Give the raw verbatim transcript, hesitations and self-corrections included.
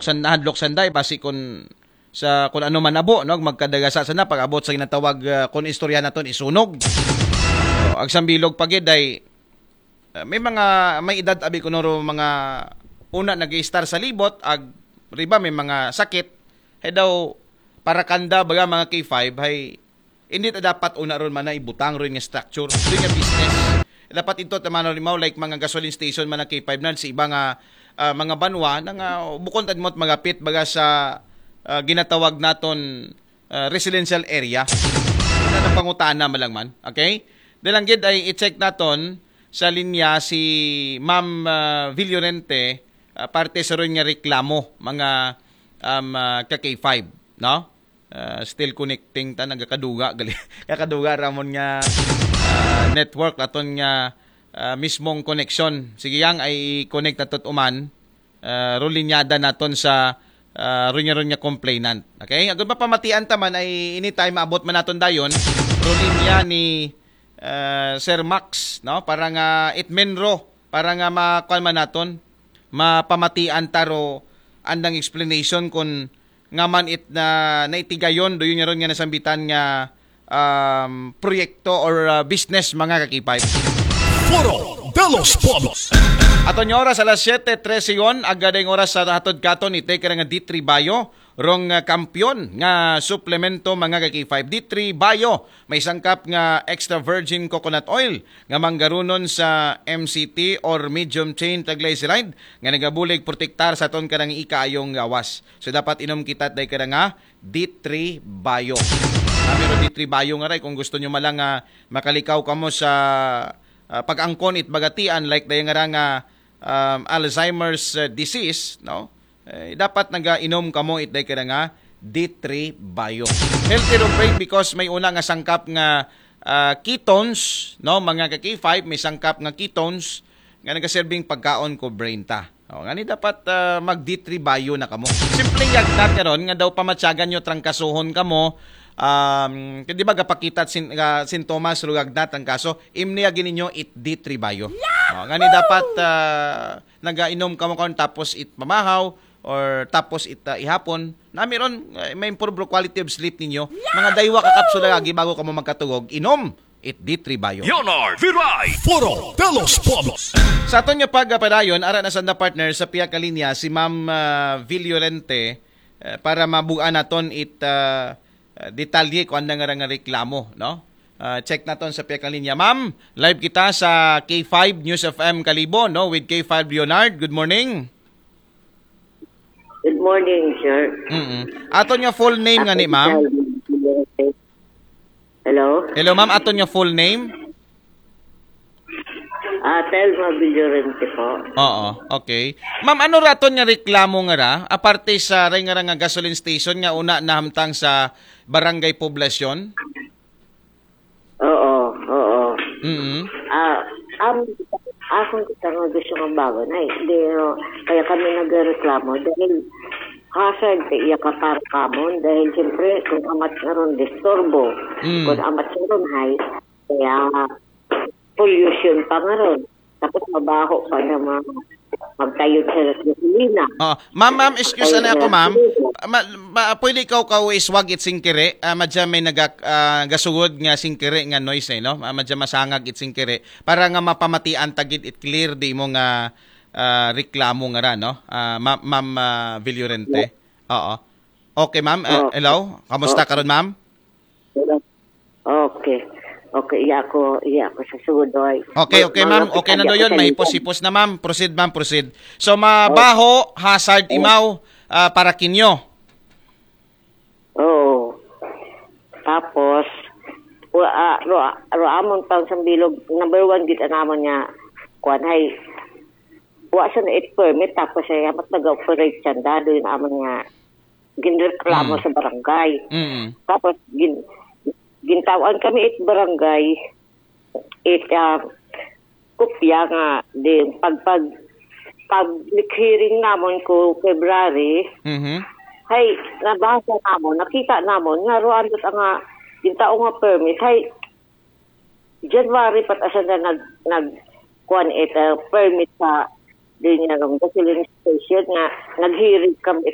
san nahadlok sanday, basi kun sa kun ano man abo, no, magkadagasa sana pag-abot sa ginatawag, ah, kun istorya naton isunog. So, agsambilog pa gid ay, ah, may mga may edad abi ko noro mga una nag-i-star sa libot, ag riba may mga sakit, hay daw para kanda baga mga K five, hay hindi ta dapat una ron man na ibutang ron nga structure, ron nga business. Dapat ito ta man limaw, like mga gasoline station man ang K five na sa iba nga, ah, mga banwa na nga bukon ta mo magapit baga sa, ah, ginatawag naton, ah, residential area. Na pangutana man lang man. Okay? Dalang gid ay i-check naton sa linya si Ma'am, ah, Villorente, ah, parte sa ron nga reklamo, mga, um, ah, ka K five, no? Ah, still connecting ta, nagakaduga, gali. Kakaduga ramon nga, ah, network, aton nga, ah, mismong connection. Sige, yang ay i-connect nato uman, ah, ron linyada naton sa, ah, ron nga, ron nga complainant. Okay? Agud mapamatian ta man ay anytime maabot man naton dayon, ron linya ni, ah, Sir Max, no? Para nga itmenro, para nga makuan man naton, mapamatian ta ro andang explanation kun nga man it na naitigayon, do yun nga ron nga nasambitan nga, um, proyekto or, uh, business, mga ka-K five. Foro de los Pueblos. Aton nga oras alas siyete trese yon, agad ang oras sa hatod katon, itay ka nga D three Bayo, rong, uh, kampiyon nga suplemento, mga ka-K five. D three Bayo, may sangkap nga extra virgin coconut oil nga manggarunon sa M C T or medium chain triglyceride nga nagabulig protektar sa aton kanang ikaayong gawas. So, dapat inom kita day kada nga D three Bayo. Kami ro D three Bayo nga ray, kung gusto nyo malang, ah, makalikaw kamo sa, ah, pag-angkon it bagatian, like day nga ra nga, um, Alzheimer's, ah, disease, no? Eh, dapat nagainom kamo it day kada nga D three Bayo. Healthy ro brain because may una nga sangkap nga, ah, ketones, no? Mga ka K five, may sangkap nga ketones nga nagaserbing pagkaon ko brain ta. O, ngani dapat, ah, mag D three Bayo na kamo. Simpleng yagnat karon nga daw pamatyagan nyo trangkasohon kamo. Um, di ba gapakita sin, ah, sintomas ro yagnat, trangkaso? Imni agi ninyo it D three Bayo. O, ngani dapat, ah, nagainom kamo karon tapos it mamahaw or tapos it, ah, ihapon. Nami ron, eh, may improve ro quality of sleep ninyo. Mga daywa ka kapsula agi bago kamo magkatugog. Inom it D three Bayo. Leonard Viray, Foro de los Pueblos. Sa aton nga pagpadayon, ara na sanda partner sa piya ka linya si Ma'am, ah, Villorente, eh, para mabuan naton it, ah, ah, detalye kung ano nga nga reklamo, no? Ah, check naton sa piya ka linya. Ma'am, live kita sa K five News F M Kalibo, no? With K five Leonard. Good morning. Good morning, sir. Mm-mm. Aton nga full name nga ni ma'am? Hello? Hello, ma'am. Aton nga full name? Ah, Telma Villorente po. Oo, okay. Ma'am, ano raton nga reklamo nga ra? Aparte sa ray nga ra nga gasoline station nga una nahamtang sa Barangay Poblacion? Oo, oo. Mm. Ah, am, akong kita nga gusto nga bago na eh. Di, oh, kaya kami nagreklamo dahil hazard kay iya ka para kamon dahil siyempre kung amat nga ron disturbo, Mm. kung amat nga ron hay, kaya pollution pa nga ron. Tapos mabaho pa na mga magtayo sa gasolina. Oh, ma'am, ma'am, excuse Ay, na ako, ma'am. Sige. Ma, ma, pwede ikaw ka iswag it singkiri? Ah, madya may naga, ah, gasugod nga singkiri nga noise, eh, no? Ah, madya masangag it singkiri. Para nga mapamatian tagid it clear di mo nga, ah, reklamo nga ra, no? Ah, ma, ma'am, ah, Villorente. Oo. Okay, ma'am. Ah, Oh. hello? Kamusta Oh. karon, ma'am? Okay. Okay, iya ko, iya ko sa sugod, oy. Okay, Mag-, okay, ma'am. Malapit Okay na na daw yun. Mahipos-hipos na, ma'am. Proceed, ma'am. Proceed. So, mabaho, hazard imaw, ah, para kinyo. Oo. Tapos, wa, ah, ro, ro amon pang sambilog, number one gid ang amon nga, kuan, hay, wa sa na it permit, tapos ay amat nag-operate siya, dado yung amon nga, ginreklamo Mm. sa barangay. Mm. Tapos, gin, gintawan kami it barangay, it, ah, kopya nga, din, pag, pag, public hearing namon ko February, Mhm. hay, nabasa namon, nakita namon, nga ruan dot nga, gintao nga permit, hay, January pat asa na nag, nag, kuan it, ah, permit sa, din nga, gasoline station nga, naghiring kami